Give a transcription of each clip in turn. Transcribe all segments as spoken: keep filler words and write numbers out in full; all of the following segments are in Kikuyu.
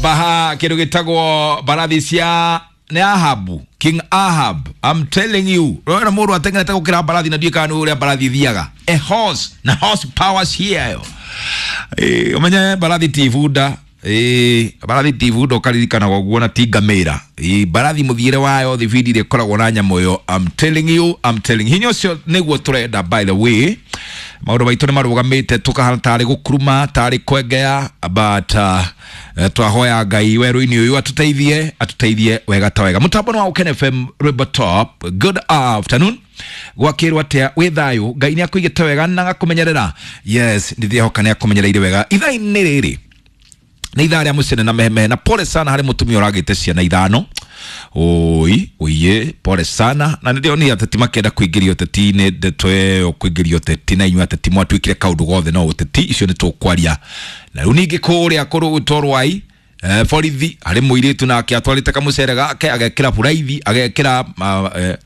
Baha kindu gitagwo mbarathi cia nĩ Ahabu, King Ahab. I'm telling you, rora mũndũ atengerete gũkĩra mbarathi na ndiũĩ kana nĩ ũrĩa mbarathi ithiaga. A horse na horse powers here. Eh, ũmenye mbarathi ti ibunda. Ĩĩ, mbarathi ti ibunda ũkaririkanaga ũguo na ti ngamĩra. Ĩĩ, mbarathi mũthiĩre wayo thibindi ĩrĩa ĩkoragwo na nyamũ ĩyo. I'm telling you, I'm telling you. Hinya ũcio nĩguo tũrenda, by the way. Maũndũ maitũ nĩ marũgamĩte tũkahana tarĩ gũkuruma tarĩ kwengea, but uh, twahoya Ngai werũ-inĩ ũyũ atũteithie atũteithie wega ta wega. Mũtambo nĩ wa Ũkene F M, rwĩmbo top. Good afternoon, gwakĩrwo atĩa? Wĩ thayũ? Ngai nĩ akũigĩte wega na agakũmenyerera. Yes, ndĩrehoka nĩ akũmenyereire wega. Ithaa-inĩ rĩrĩ nĩ ithaa rĩa mũcene na mehemehe, na pole sana harĩ mũtumia ũragĩte ciana ithano. Oi oiye, pole sana. Na nĩ ndĩronire ateti makĩenda kũingĩria ũteti-inĩ, ndeto ĩyo kũingĩria ũteti, na inyuĩ ateti mwatuĩkire kaũndũ gothe no ũteti. Icio nĩ tũkwaria. Na rĩu ningĩ kũrĩa kũrũgũtwo Rwai, eh, borithi harĩ mũirĩtu nake atwarĩte kamũcere gake, agekĩra buraithi, agekĩra uh, eh,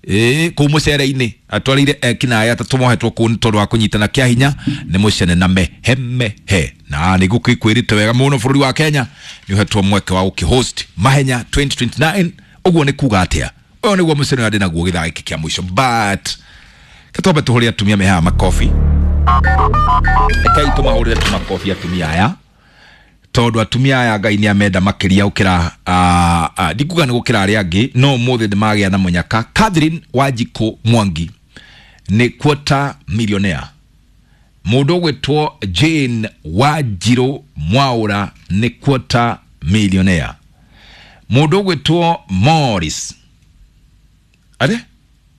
ĩĩ kũu mũcere-inĩ, atwarĩire ekinaĩ atatũ mohetwo kũu nĩ tondũ wa kũnyitana kĩa hinya. Nĩ mũcene na mehemehe, na nĩ gũkĩkwĩrĩte wega mũno bũrũri wa Kenya nĩ ũhetwo mweke wa gũkĩhost mahenya twenty twenty-nine. Ũguo nĩ kuga atĩa? Ũyũ nĩguo mũcene ũrĩa ndĩ naguo gĩthaa gĩkĩ kĩa mũico, but ketwambe tũhũrĩre atumia me haha makobi. Rekei tũmahũrĩre tũmakobi atumia aya, tondũ atumia aya Ngai nĩ amenda makĩria gũkĩra, uh, uh, ndikuga nĩ gũkĩra arĩa angĩ, no ũmũthĩ nĩ magĩa na mũnyaka. Catherine Wanjikũ Mwangi nĩ quarter millionaire. Mũndũ ũgwĩtwo Jane Wanjirũ Mwaũra nĩ quarter millionaire. Mũndũ ũgwĩtwo Morris are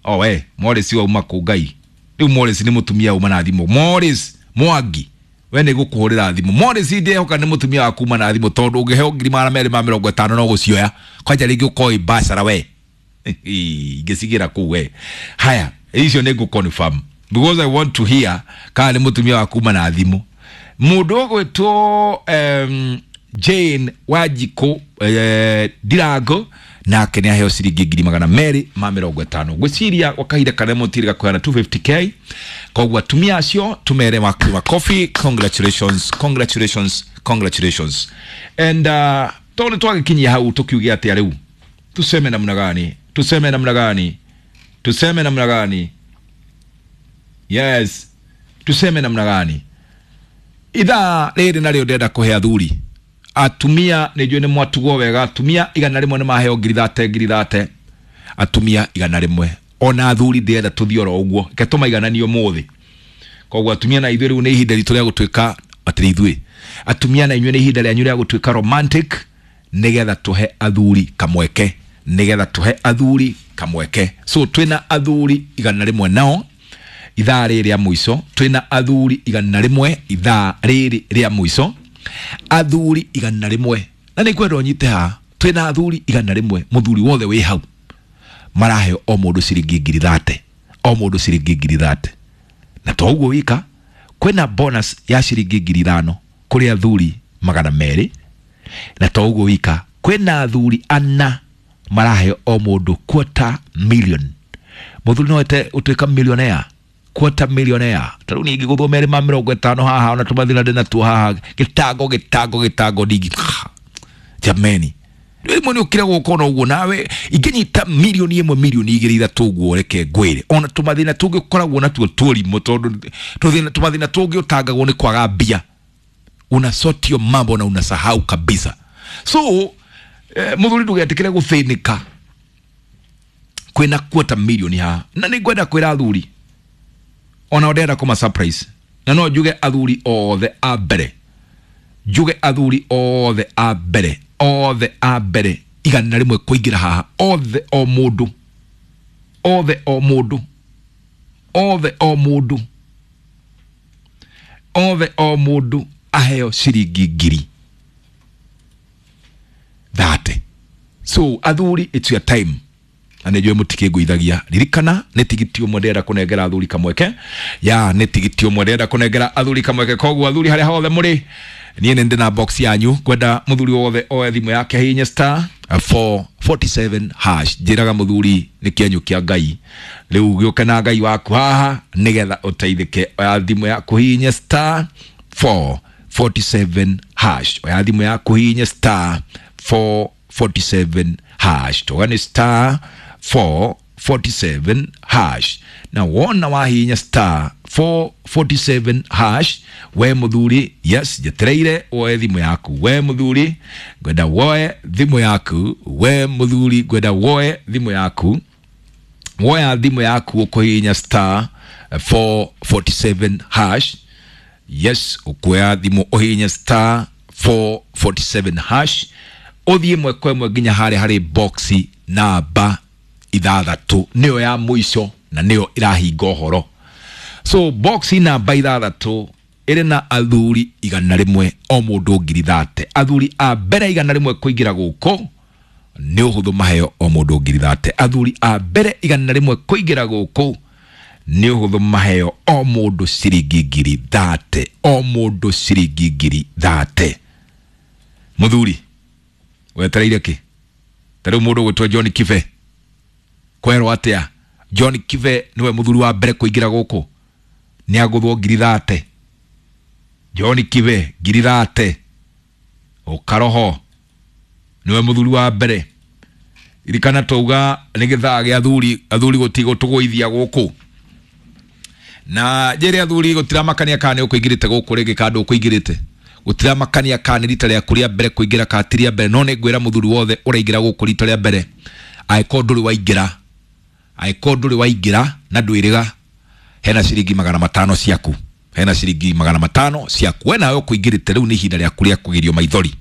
oh we Morris wauma kũ? Ngai, rĩu Morris nĩ mũtumia uma na thimũ. Morris Mwangi, we nĩ gũkũhũrĩra thimũ. Morris, ndĩhoka nĩ mũtumia waku uma na thimũ, tondũ ũngĩheo ngiri magana merĩ ma mĩrongo ĩtano no gũcioya kwanja rĩngĩ ũkoĩ mbacara we ingĩcigĩra kũu we. Haya, icio nĩ ngũ confirm because I want to hear kana nĩ mũtumia waku uma na thimũ. Mũndũ ũgwĩtwo um, Jane Wanjikũ eh, Ndirango nake nĩ aheo ciringi ngiri magana merĩ ma mĩrongo ĩtano. Ngwĩciria gwa kahinda karĩa mũtirĩ gakũheana two fifty k. Koguo atumia acio tumere makobi. Congratulations, congratulations, congratulations. And uh, tondũ nĩ twagĩkinyia hau, tũkiuge atĩa rĩu? Tuseme namna gani? Tuseme namna gani? Tuseme namna gani? Yes, tuseme namna gani? Ithaa rĩrĩ narĩo ndĩrenda kũhe athuri. Atumia nĩ njũĩ nĩ mwatugwo wega. Atumia igana rĩmwe nĩ maheo ngiri thate, ngiri thate, atumia igana rĩmwe. Ona athuri ndĩrenda tũthiĩ oro ũguo, reke tũmaigananie ũmũthĩ. Koguo atumia na ithuĩ rĩu nĩ ihinda ritũ rĩa gũtuĩka atĩrĩ, ithuĩ atumia na inyuĩ nĩ ihinda rĩanyu rĩa gũtuĩka romantic, nĩgetha tũhe athuri kamweke, nĩgetha tũhe athuri kamweke. So twĩna athuri igana rĩmwe nao ithaa rĩrĩ rĩa mũico. Twĩna athuri igana rĩmwe ithaa rĩrĩ rĩa mũico, athuri igana rĩmwe. Na nĩ ngwenda ũnyite haha, twĩna athuri igana rĩmwe. Mũthuri wothe wĩ hau maraheo o mũndũ ciringi ngiri thate, o mũndũ ciringi ngiri thate. Na to ũguo wika, kwĩna bonus ya ciringi ngiri ithano kũrĩ athuri magana merĩ. Na to ũguo wika, kwĩna athuri ana maraheo o mũndũ quarter million. Mũthuri no ete ũtuĩka millionaire, quarter millionaire. Ta rĩu niĩ ingĩgũthwo merĩ ma mĩrongo ĩtano haha, ona tũmathĩna ndĩ natuo haha, gĩtango gĩtango gĩtango ndingi jameni. Rĩmwe nĩ ũkire gũka ona ũguo nawe ingĩnyita milioni ĩmwe, milioni igĩrĩ, ithatũ ũguo, reke ngwĩre ona tũmathĩna tũngĩ ũkoragwo natuo tũrimũ, tondũ tũthĩna tũmathĩna tũngĩ ũtangagwo nĩ kwaga mbia. Unasotio mambo na unasahau kabisa. So eh, mũthuri, ndũgetĩkĩre gũthĩnĩka. Kwĩna quarter million haha, na nĩ ngwenda kwĩra athuri ona ndĩrenda kũma surprise, na no njuge athuri othe a mbere, njuge athuri othe a mbere, othe a mbere igana rĩmwe kũingĩra haha, othe o mũndũ, othe o mũndũ, othe o mũndũ, othe o mũndũ aheo ciringi ngiri thate. So athuri, it's your time, na nä njå må tikĩngũithagia. Ririkana nä tigiti ũmwe ndĩrenda kũnengera athuri kamweke ya, nä tigiti ũmwe ndĩrenda kũnengera athuri kamweke. Koguo athuri harĩa hothe mũrĩ, niĩ nĩ ndĩ na box yanyu. Ngwenda mũthuri wothe oe thimũ yake, hihinye star four forty-seven hash. Njĩraga mũthuri nĩ kĩenyũ kĩa Ngai, rĩu gĩũke na Ngai waku haha nĩgetha ũteithĩke. Oya thimũ yaku, hihinye star four forty-seven hash. Oya thimũ yaku hihinye star four forty-seven hash. Toga nĩ star four forty-seven hash. Na wona wahihinya star four forty-seven hash, we muthuri, yes, njetereire woe thimũ yaku. We muthuri, ngwenda woe thimũ yaku. We muthuri, ngwenda woe thimũ yaku. Woya thimũ yaku ũkũhihinya star four forty-seven hash. Yes, ũkuoya thimũ ũhihinye star four forty-seven hash, ũthiĩ ĩmwe kwa ĩmwe nginya harĩa harĩ boxi namba ithathatũ, nĩyo ya mũico na nĩyo ĩrahinga ũhoro. So boxi namba ithathatũ ĩrĩ na athuri igana rĩmwe o mũndũ ngiri thate. Athuri a mbere igana rĩmwe kũingĩra gũkũ nĩ ũhũthũ maheo o mũndũ ngiri thate. Athuri a mbere igana rĩmwe kũingĩra gũkũ nĩ ũhũthũ maheo o mũndũ ciringi ngiri thate, o mũndũ ciringi ngiri thate. Mũthuri wetereire kĩ? Ta rĩu mũndũ ũgwĩtwo John Kibe, kwerwo atĩa? John Kibe nĩwe mũthuri wa mbere kũingĩra gũkũ, nĩ agũthwo ngiri thate. John Kibe ngiri thate, ũkaroho nĩwe mũthuri wa mbere. Ririkana twauga nĩ gĩthaa gĩa athuri, athuri gũtigũtũgũithia gũkũ. Na njĩre athuri gũtiramakania kana nĩ ũkũingĩrĩte gũkũ rĩngĩ kana ndũkũingĩrĩte, gũtiramakania kana nĩ rita rĩaku rĩa mbere kũingĩra kana ti rĩa mbere, no nĩ ngwĩra mũthuri wothe ũraingĩra gũkũ rita rĩa mbere, angĩkorwo ndũrĩ waingĩra, angĩkorwo ndũrĩ waingĩra na ndwĩrĩga, hena ciringi magana matano ciaku, hena ciringi magana matano ciaku. We nawe ũkũingĩrĩte rĩu nĩ ihinda rĩaku rĩa kũgirio maithori,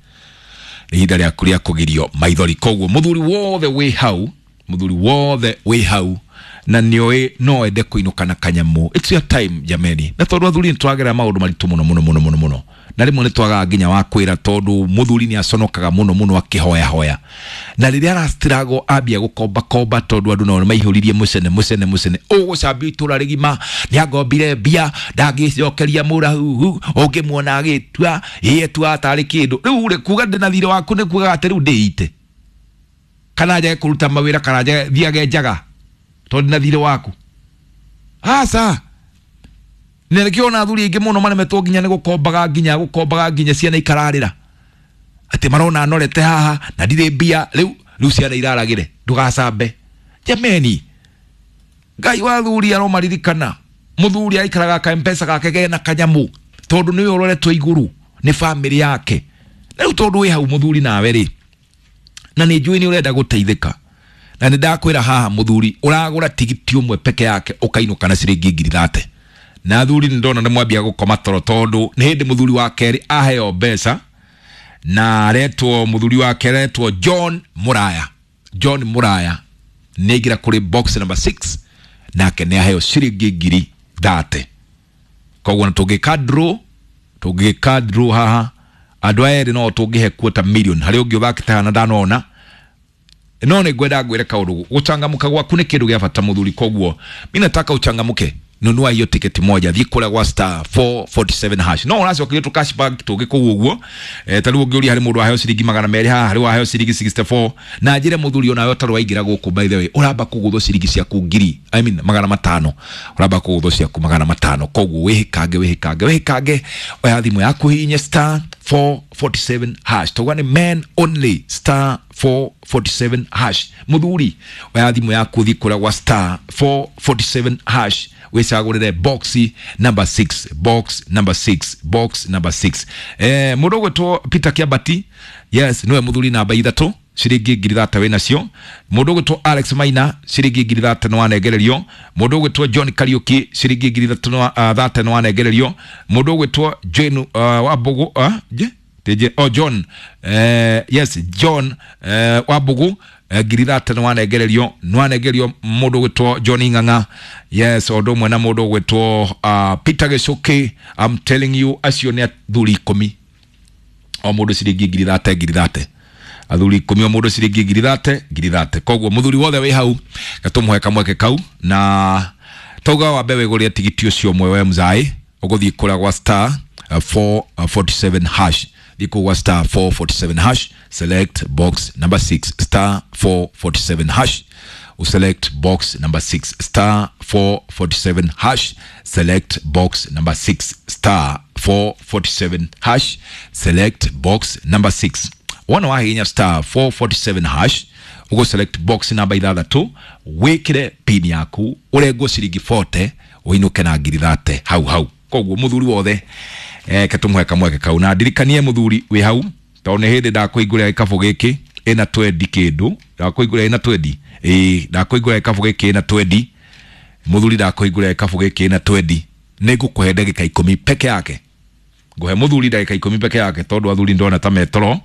nĩ ihinda rĩaku rĩa kũgirio maithori. Koguo mũthuri wothe wĩ hau, mũthuri wothe wĩ hau na nĩoĩ no ende kũinũka na kanyamũ, it's your time jameni. Na tondũ athuri nĩtwagerera maũndũ maritũ mũno mũno mũno mũno mũno, na rĩmwe nĩtwagaga nginya wa kwĩra, tondũ mũthuri nĩaconokaga mũno mũno akĩhoyahoya, na rĩrĩa arastruggle ambia gũkombakomba, tondũ andũ nao nĩmaihũririe mũcene mũcene mũcene, ũgũcambio itũra rĩgima, nĩangombire mbia ndangĩcokeria mũrahuhu, ũngĩmuona agĩtua ĩ etuaga tarĩ kĩndũ. Rĩu rĩ, kuga ndĩna thirĩ waku nĩ kugaga atĩ rĩu ndĩite, kana njage kũruta mawĩra, kana njage thiage njaga tondũ ndĩna thirĩ waku. Aca, na nĩkĩo ona athuri aingĩ mũno maremetwo nginya nĩ gũkombaga, nginya gũkombaga nginya ciana ikararĩra atĩ marona norete haha na ndirĩ mbia, rĩu rĩu ciana iraragĩre, ndũgacambe. Jameni, Ngai wa athuri aromaririkana. Mũthuri aikaraga ka M-Pesa gake kena kanyamũ, tondũ nĩwe ũroretwo igũrũ nĩ bamĩrĩ yake. Na rĩu tondũ wĩ hau mũthuri nawe rĩ, na nĩ njũĩ nĩ ũrenda gũteithĩka, na nĩ ndakwĩra haha mũthuri ũragũra tigiti ũmwe peke yake ũkainũka na ciringi ngiri thate. Na athuri nĩ ndona nĩ mwambia gũkoma toro, tondũ nĩ hĩndĩ mũthuri wa kerĩ aheo mbeca, na aretwo mũthuri wa kerĩ aretwo John Muraya. John Muraya nĩ aingĩra kũrĩ box number six, nake nĩ aheo ciringi ngiri thate. Koguo na tũngĩka draw, tũngĩka draw haha andũ aya erĩ no tũngĩhe quarter million, harĩ ũngĩ ũthakĩte haha na ndanona. No nĩ ngwenda ngwĩre kaũndũ, gũcangamũka gwaku nĩ kĩndũ gĩa bata mũthuri. Koguo mi nataka uchangamuke, nunua hiyo tiketi moja, thiĩ kũrĩa gwa star four forty-seven hash. No ũracokerio tũ cashback tũngĩ kũu ũguo. Eh, ta rĩu ũngĩũria harĩ mũndũ waheo ciringi magana merĩ haha, harĩ waheo ciringi sixty-four. Na njĩre mũthuri onawe ũtarĩ waingĩra gũkũ, by the way, ũramba kũgũthwo ciringi ciaku ngiri, I mean magana matano, ũramba kũgũthwo ciaku magana matano. Koguo wĩhĩkange, wĩhĩkange, wĩhĩkange, oya thimũ yaku hihinye star four forty-seven hash. Tauga nĩ men only, star four forty-seven hash. Mũthuri oya thimũ yaku thiĩ kũrĩa gwa star four forty-seven hash, wĩcagũrĩre box number six, box number six, box number six. Eh, mũndũ ũgwĩtwo Peter Kiambati, yes, nĩwe mũthuri namba ithatũ, ciringi ngiri thate wĩ nacio. Mũndũ ũgwĩtwo Alex Maina, ciringi ngiri thate nĩ wanengererio. Mũndũ ũgwĩtwo John Kariuki, ciringi ngiri ithatũ nĩ thate nĩ wanengererio. Mũndũ ũgwĩtwo Jane uh, Wambugu, uh, je? Teje, oh, John, eh, yes, John eh, Wambugu, eh, ngiri thate nĩ wanengererio, nĩ wanengererio mũndũ ũgwĩtwo John Ng'ang'a, yes, o ũndũ ũmwe na mũndũ ũgwĩtwo uh, Peter Gĩcũkĩ. I'm telling you, acio nĩ athuri ikũmi, o mũndũ ciringi ngiri thate, ngiri thate, athuri ikũmi, o mũndũ ciringi ngiri thate, ngiri thate. Koguo mũthuri wothe wĩ hau gatũmũhe kamweke kau, na tauga wambe wĩgũrĩre tigiti ũcio ũmwe we mzai, ũgũthiĩ kũrĩa gwa star four forty-seven hash, thiĩ kũu gwa star four forty-seven hash, select box number six, star four forty-seven hash, uselect box number six, star four forty-seven hash, select box number six, star four forty-seven hash, select box number six. Wona wahihinya star four forty-seven hash, ugo select box namba ithathatu, wikire pin yaku, urengwo ciringi forty, uinuke na ngiri thate hau hau. Koguo muthuri wothe eh ketumuhe kamweke kau, na ndirikanie muthuri wi hau tondu ni hindi ndakuingũrĩra gĩkabũ gĩkĩ ĩna twendi kĩndũ, ndakuingũrĩra ĩna twendi, ĩĩ ndakuingũrĩra gĩkabũ gĩkĩ ĩna twendi, muthuri ndakuingũrĩra gĩkabũ gĩkĩ ĩna twendi, nĩngũkũhe ndagĩka ikũmi peke yake, ngũhe muthuri ndagĩka ikũmi peke yake tondu athuri ndona ta metoro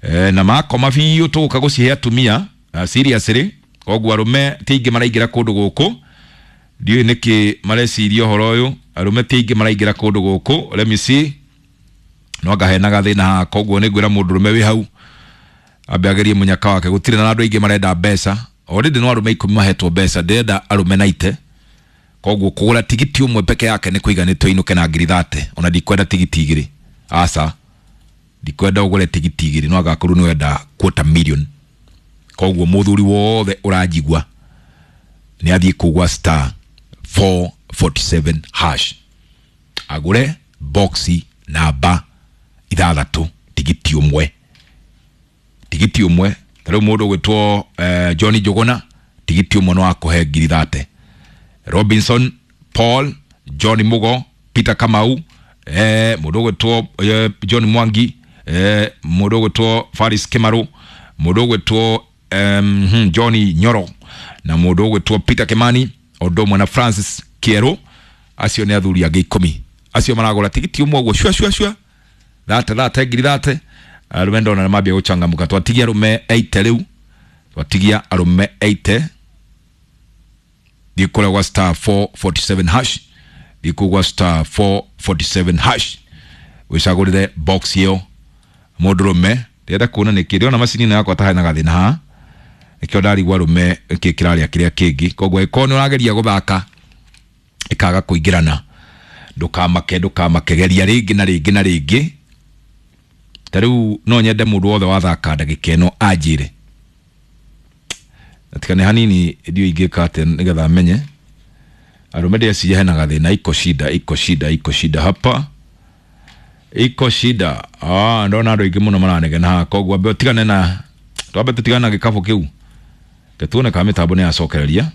eh, na makoma biũ tũgũka gũcihe atumia seriously. Koguo arũme ti aingĩ maraingĩra kũndũ gũkũ, ndiũĩ nĩkĩ mareciria ũhoro ũyũ, arũme ti aingĩ maraingĩra kũndũ gũkũ. Let me see, no ngahenaga thĩna haha, koguo nĩngwĩra mũndũrũme wĩ hau ambe agerie mũnyaka wake. Gũtirĩ na andũ aingĩ marenda mbeca, already no arũme ikũmi mahetwo mbeca, ndĩrenda arũme naite. Koguo kũgũra tigiti ũmwe peke yake nĩ kũiganĩte ũinũke na ngiri thate, ona ndikwenda tigiti igĩrĩ, aca ndikwenda ũgũre tigiti igĩrĩ, no agakorwo nĩ wenda quarter million. Koguo mũthuri wothe ũranjigua nĩ athiĩ kũgwa star four forty-seven hash, agũre boxi namba ithathatũ tigiti ũmwe, tigiti ũmwe. Ta rĩu mũndũ ũgwĩtwo eh, John Njuguna tigiti ũmwe no akũhe ngiri thate, Robinson Paul, John Mugo, Peter Kamau, eh, mũndũ ũgwĩtwo eh, John Mwangi, eh, mũndũ ũgwĩtwo Faris Kimaru, mũndũ ũgwĩtwo um, John Nyoro, na mũndũ ũgwĩtwo Peter Kimani, ũndũ ũmwe na Francis Kieru. Acio nĩ athuri angĩ ikũmi acio maragũra tigiti ũmwe ũguo shua shua shua thate thate ngiri thate. Arũme ndona nĩ mambia gũchangamka, twatigia arũme eighty rĩu, twatigia arũme eighty. Thiĩ kũrĩa gwa star four forty-seven hash, thiĩ kũu gwa star four forty-seven hash wĩcagũrĩre box ĩyo mũndũrũme. Ndĩrenda kuona nĩkĩ ndĩrona macini ĩno yakwa ta hena gathĩna haha, nĩkĩo ndarigwo arũme nĩkĩ kĩrarĩa kĩrĩa kĩngĩ. Koguo angĩkorwo nĩ ũrageria gũthaka ĩkaga kũingĩrana, ndũkamake, ndũkamake, geria rĩngĩ na rĩngĩ na rĩngĩ. Ta rĩu no nyende mũndũ wothe wathaka ndagĩka ĩno anjĩre, atikane hanini ndiũ ingĩka atĩa nĩgetha menye arũme. Ndĩreciria hena gathĩna, iko shida, iko shida, iko shida hapa, iko shida. Ah, ndona andũ aingĩ mũno maranegena haha, koguo ambe ũtigane na, twambe tũtigane na gĩkabũ kĩu, ke tuone kana mĩtambo nĩ yacokereria,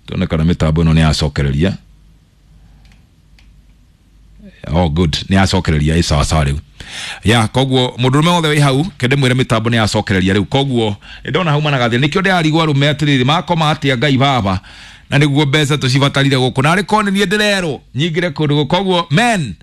tuone kana mĩtambo ĩno nĩ yacokereria. Oh good, nĩ yacokereria, ĩ sawa sawa rĩu ya. Koguo mũndũrũme wothe wĩ hau kende mwĩre mĩtambo nĩ yacokereria rĩu. Koguo ndona hau mana gathĩna, nĩkĩo ndĩrarigwo arũme atĩrĩrĩ makoma atĩa Ngai baba, na nĩguo mbeca tũcibatarire gũkũ, na arĩ korwo nĩ niĩ ndĩrerwo nyingĩre kũndũ gũkũ. Koguo men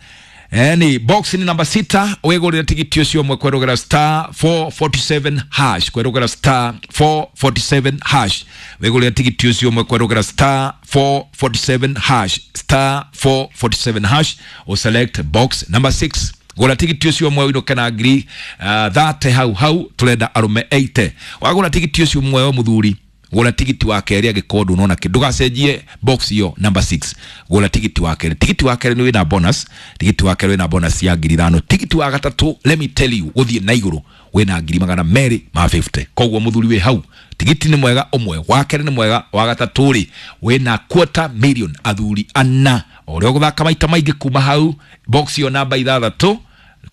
Eni box ni namba sita, wĩgũrĩre tigiti ũcio ũmwe kwerũgera star four forty-seven hash, kwerũgera star four forty-seven hash, wĩgũrĩre tigiti ũcio ũmwe kwerũgera star four forty-seven hash, star four forty-seven hash, o select box number six. Gũra tigiti ũcio ũmwe ũinũke na ngiri uh, thate hau hau, tũrenda arũme eighty. Wagũra tigiti ũcio ũmwe we mũthuri, gũra tigiti wa kerĩ angĩkorwo ndũnona kĩndũ, ndũgacenjie box iyo number six, gũra tigiti wa kerĩ. Tigiti wa kerĩ nĩ wĩna bonus, tigiti wa kerĩ wĩna bonus ya ngiri ithano. Tigiti wa gatatũ, let me tell you, gũthiĩ na igũrũ wĩna ngiri magana merĩ ma fifty. Koguo mũthuri wĩ hau, tigiti nĩ mwega ũmwe, wa kerĩ nĩ mwega, wa gatatũ rĩ wĩna quarter million, athuri ana. O ũrĩa ũgũthaka maita maingĩ kuma hau box iyo namba ithathatũ,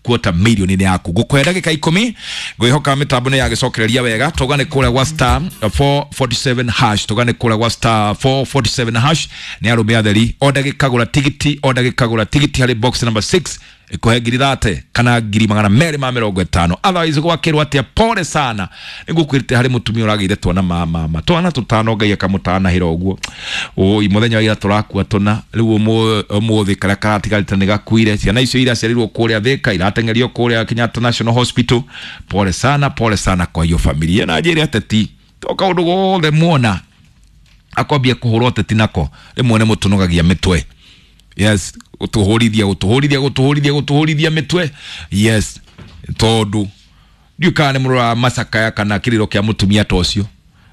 quarter million nĩ yaku. Ngũkũhe ndagĩka ikũmi, ngwĩhoka mĩtambo nĩ yagĩcokereria wega. Tũgane kũrĩa gwa star four forty-seven hash, tũgane kũrĩa gwa star four forty-seven hash. Nĩ arũme atheri, o ndagĩka gũra tigiti, o ndagĩka gũra tigiti harĩ box number six, ĩkũhe ngiri thate kana ngiri magana merĩ ma mĩrongo ĩtano. Otherwise gwakĩrwo atĩa, pole sana, nĩngũkwĩrĩte harĩ mũtumia ũragĩire twana ma mama twana tũtano, Ngai akamũtanahĩra ũguo. Oi mũthenya wa ira tũrakua tũna, rĩu ũmũthĩ karĩa karatigarĩte nĩ gakuire. Ciana icio iraciarirwo kũrĩa Thĩka, irateng'erio kũrĩa Kenyatta National Hospital. Pole sana, pole sana kwa hiyo familia. Na njĩre ateti to kaũndũ gothe muona akwambia kũhũrwo ateti nako rĩmwe nĩ mũtũnogagia mĩtwe. Yes, gutuhurithia gutuhurithia gutuhurithia gutuhurithia mitwe. Yes, tondu ndiũ kana nĩ mũrora macakaya kana kĩrĩro kĩa mũtumia ta ũcio.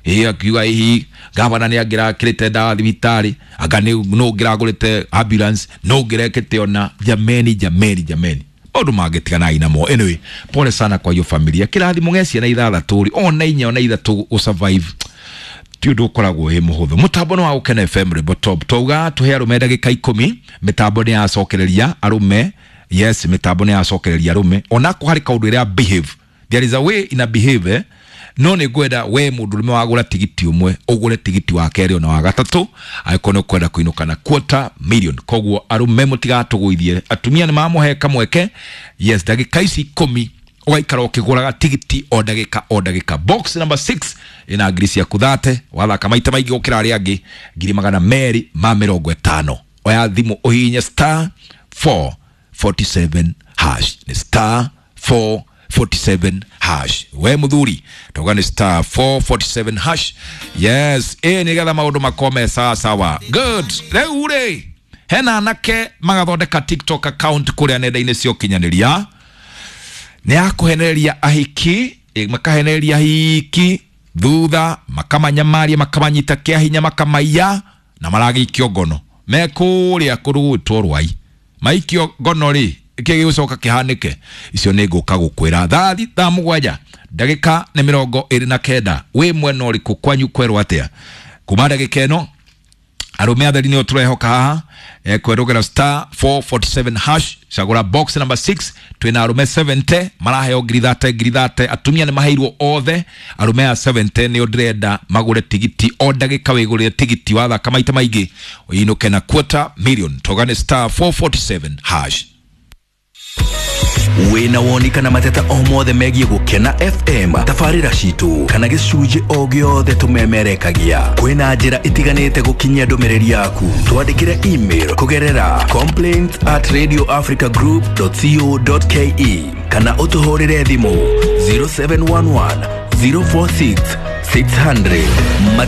Ĩĩ akiuga hihi gavana nĩ angĩrakĩrĩte ndawa thibitarĩ, anga nĩ no ũngĩragũrĩte ambulance, no ũngĩrekĩte ona. Jameni, jameni, jameni, maũndũ mangĩtiganai namo. Anyway, pole sana kwa hiyo familia. Kĩrathimo gĩa ciana ithathatũ rĩ, ona inya ona ithatũ gũ survive Ti ũndũ ũkoragwo wĩ mũhũthũ. Mũtambo nĩ wa Gũkena F M, rwĩmbo top. Twauga tũhe arũme ndagĩka ikũmi. Mĩtambo nĩ yacokereria arũme. Yes, mĩtambo nĩ yacokereria arũme. Onako harĩ kaũndũ ĩrĩa behave, there is a way ina behave, eh? No nĩ ngwenda we mũndũrũme wagũra tigiti ũmwe, ũgũre tigiti wa kerĩ ona wa gatatũ, angĩkorwo nĩ ũkwenda kũinũka na quarter million. Koguo arũme, mũtigatũgũithie, atumia nĩ mamũhe kamweke. Yes, ndagĩka ici ikũmi ũgaikara ũkĩgũraga tigiti o ndagĩka o ndagĩka. Box number six ĩna ngiri ciaku thate, wathaka maita maingĩ gũkĩra arĩa angĩ, ngiri magana merĩ ma mĩrongo ĩtano. Oya thimũ, ũhihinye star four forty-seven hash. Nĩ star four forty-seven hash. We muthuri, tauga nĩ star four forty-seven hash. Yes, ĩ nĩgetha maũndũ makome sawa sawa. Good. Rĩu rĩ, hena anake magathondeka TikTok account kũrĩa nenda-inĩ cia ũkinyanĩria, nĩ ya kũhenereria ahiki, eh, makahenereria ahiki, thutha makamanyamaria, makamanyita kĩa hinya, makamaiya na maragĩikio ngono me kũrĩa kũndũ gwĩtwo Rwai. Maikio ngono rĩ, kĩ gĩgũcoka kĩhanĩke? Icio nĩ ngũka gũkwĩra thaa thaa mũgwanja ndagĩka nĩ mĩrongo ĩrĩ na kenda. Wĩ mwena ũrĩkũ? Kwanyu kwerwo atĩa? Kuma ndagĩka ĩno, arũme atheri nĩo tũrehoka haha, eh, kwerũgera star four forty-seven hash, cagũra box number six. Twĩna arũme seventy maraheo ngiri thate, ngiri thate. Atumia nĩ maheirwo othe. Arũme aya seventy nĩo ndĩrenda magũre tigiti. O ndagĩka wĩgũrĩre tigiti, wathaka maita maingĩ ũinũke na quarter million. Toga nĩ star four forty-seven hash. Wĩna woni kana mateta o mothe megiĩ Gũkena F M, tabarĩra citũ kana gĩcunjĩ o gĩothe tũmemerekagia, kwĩna njĩra itiganĩte gũkinyia ndũmĩrĩri yaku. Twandĩkĩre email kũgerera complaints at radioafricagroup dot co dot ke kana ũtũhũrĩre thimũ zero seven one one zero four six six hundred. Mateta